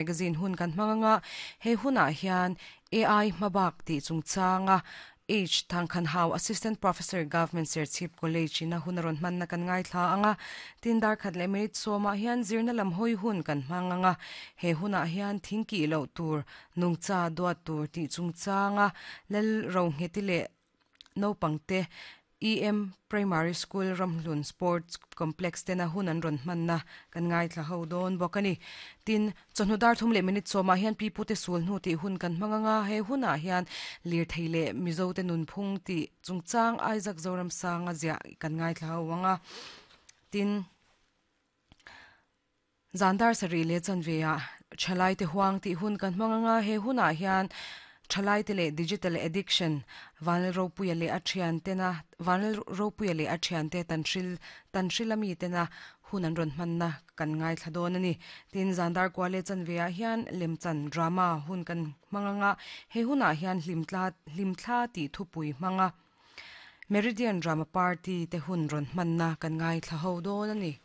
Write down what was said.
Magazine hun kan hmang anga, he hunah hian AI hmabak tih chungchanga H Thangkhanhau Assistant Professor Government Serchhip College in a hun a rawn hmanna kan ngaithla anga, tin dar khat leh minute sawmah hian zirna lam hawi hun kan hmang anga, he hunah hian thingkih loh tur, nungcha duat tur tih chungchanga Lal Rohngheti leh Naupangte EM Primary School Ramhlun Sports Complex tena hun an rawn hmanna kan ngaithla ho dawn bawk a ni. Tin, chawhnu dar thum leh minute sawmah hian Pi Pute Sul hnu tih hun kan hmang anga, he hunah hian lirthei leh Mizote nunphung tih chungchang Isaac Zoramsanga ziah kan ngaithla ho anga. Tin. Zan dar sarih leh chanveah Thalaite huang tih hun kan hmang anga, he hunah hian Thalaite leh Digital Addiction, Vanlal Ropuia leh a thiantena Vanlal Ropuia leh a thiante Tanhril Tanhrila mitena hun an rawn hmanna kan ngaithla dawn a ni. Tin, zan dar kua leh chanveah hian lemchan, drama, hun kan hmang anga, he hunah hian hlimtla hlimthla tih thupui hmanga Meridian Drama Party te hun rawn hmanna kan ngaithla ho dawn a ni.